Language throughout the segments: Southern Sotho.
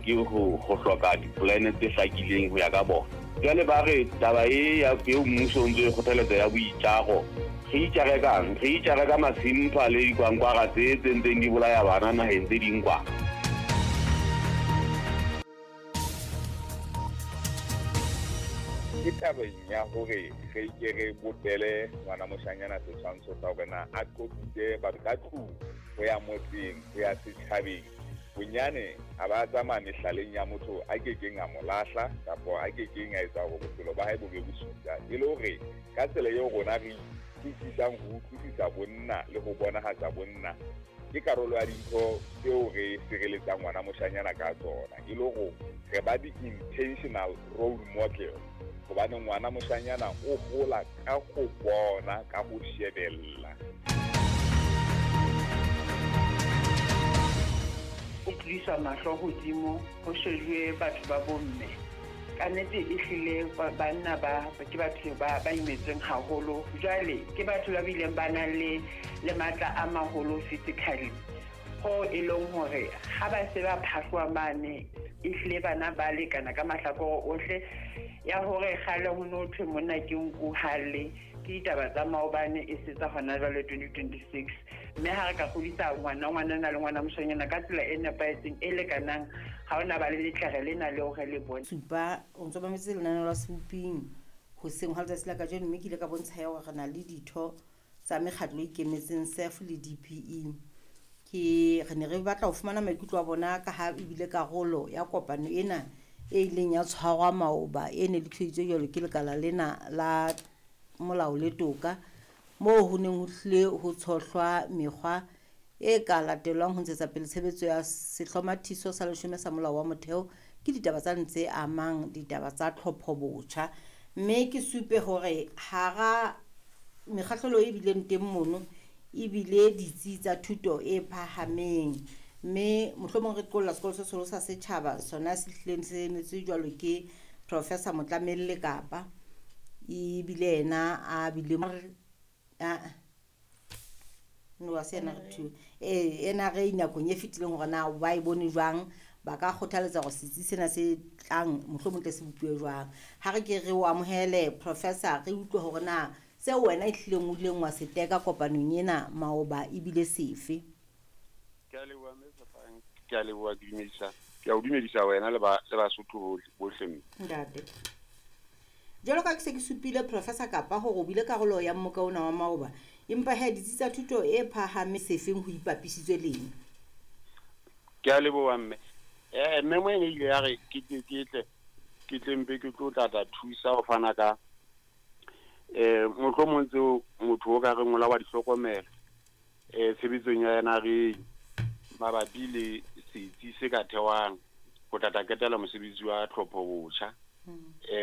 ke ho hloka dipolane tse hlakileng ho ya ka bona. Jwale ba re taba e ya eo mmuso o ntso e kgothaletsa ya boitjaro, re itjare kang? Re itjare ka masimpha le dikwankwara tse tse ntseng di bolaya bana naheng tse ding kwa. Ke tabeng ya hore re ke re bopele ngwana moshanyana setshwantsho sa hore na a qoqise batho ka tlung, ho ya motseng, ho ya setjhabeng. Bonyane a ba tsamaya mehlaleng ya motho a kekeng a mo lahla kapa a kekeng a etsa hore bophelo ba hae bo be bosula. E le hore ka tsela eo rona re utlwisisang ho utlwisisa bonna le ho bonahatsa bonna, ke karolo ya dintho tseo re sireletsang ngwana moshanyana ka tsona. E le hore re ba di-intentional role model, hobane ngwana moshanyana o hola ka ho bona, ka ho shebella. O tlisa mahlo hodimo ho shejuwe batho ba bomme. Ka nnete ehlile banna ba ke batho ba imetsweng haholo. Jwale ke batho ba bileng ba nang le matla a maholo physically. Ho e leng hore ha ba se ba phahloa mane, ehlile bana ba lekana ka mahlakore ohle. Ya hore kgale ho no thwe monna ke nku halle, ke ditaba tsa maobane e se tsa hona jwale 2026. Mme ha re ka kgodisa ngwana, ngwanana le ngwana moshanyana ka tsela e nepahetseng, e lekanang, ha hona ba le letlere lena leo re le bone. Supa, o ntso mametse lenaneo la Seboping hoseng hwa letsatsi la kajeno, mme ke ile ka bontsha ya hore re na le ditho tsa mekgatlo e ikemetseng SEF le DPE. Ke re ne re batla ho fumana maikutlo a bona ka ha ebile karolo ya kopano ena e ileng ya tshwarwa maoba, e ne lokiseditswe jwalo ke lekala lena la molao le toka, moo ho neng ho hlile ho tshohlwa mekgwa e ka latelwang ho ntshetsa pele tshebetso ya sehlomathiso sa leshome sa molao wa motheo. Ke ditaba tsa ntse amang ditaba tsa tlhopho botjha. Mme ke supe hore hara mekgahlelo e bileng teng mono ebile ditsi tsa thuto e phahameng, mme mohlomong re qolla sekolo se seholo sa setjhaba sona se hlileng se emetswe jwalo ke Professor Motlamelle Kapa, ebile yena a bile no wa se ena re two ena re nakong e fetileng hore na ba e bone jwang, ba ka kgothaletsa hore setsi sena se tlang mohlomong tle se bopuwe jwang. Ha re ke re o amohele Professor, re utlwe hore na seo wena e hlileng o ileng wa se teka kopanong ena maoba ebile sefe. Ke a leboha mme Tshepang, ke a leboha, ke dumedisa, ke a o dumedisa wena le ba le Basotho bohle mme. Ntate, jwalo ka ke se ke supile Professor Kapa hore o bile karolo ya mmoka ona wa maoba, empa he ditsi tsa thuto e phahame sefeng ho ipapisitswe leng? Ke a leboha mme. Mme mo ene ile ya re ke tle ke tle ke tle mpe ke tlo tla thusa ho fana ka mohlomong tseo motho o ka reng o la wa di hlokomela tshebetsong ya yena re mabapi le setsi se ka thewang ho tla ketela mosebetsi wa tlhopho botjha.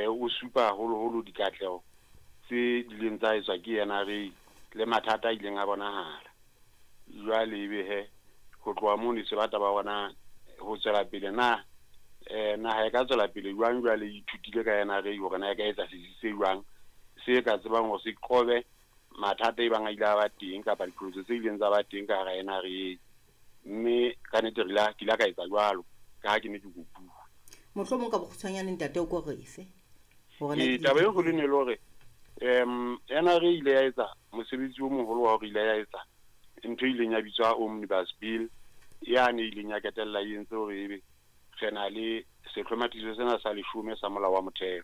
O supa haholoholo dikatleho tse dileng tsa etswa ke yena re le mathata a ileng a bonahala. Jwale ebe he ho tloha mono se batla ba bona ho tswela pele na naha e ka tswela pele jwang jwale e ithutile ka yena re hore na e ka etsa setsi se jwang se ka tsebang hore se qobe mathata e bang a ile a ba teng kapa diqholotso tse ileng tsa ba teng ka hara yena re. Mme ka nnete re ke ile ka etsa jwalo ka ha ke ne ke kopuwa. Mohlomong ka bokgutshwanyane ntate o ko re fe taba e kgolo ne le hore NRA ile ya etsa mosebetsi o moholo wa hore ile ya etsa ntho e ileng ya bitswa Omnibus Bill, yane e ileng ya ketella e entse hore ebe re na le sehlomathiso sena sa leshome sa molao wa motheo.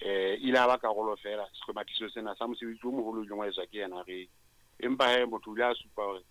Ile a ba karolo fela sehlomathiso sena sa mosebetsi o moholo o ileng wa etswa ke NRA. Empa he motho o ile a supa hore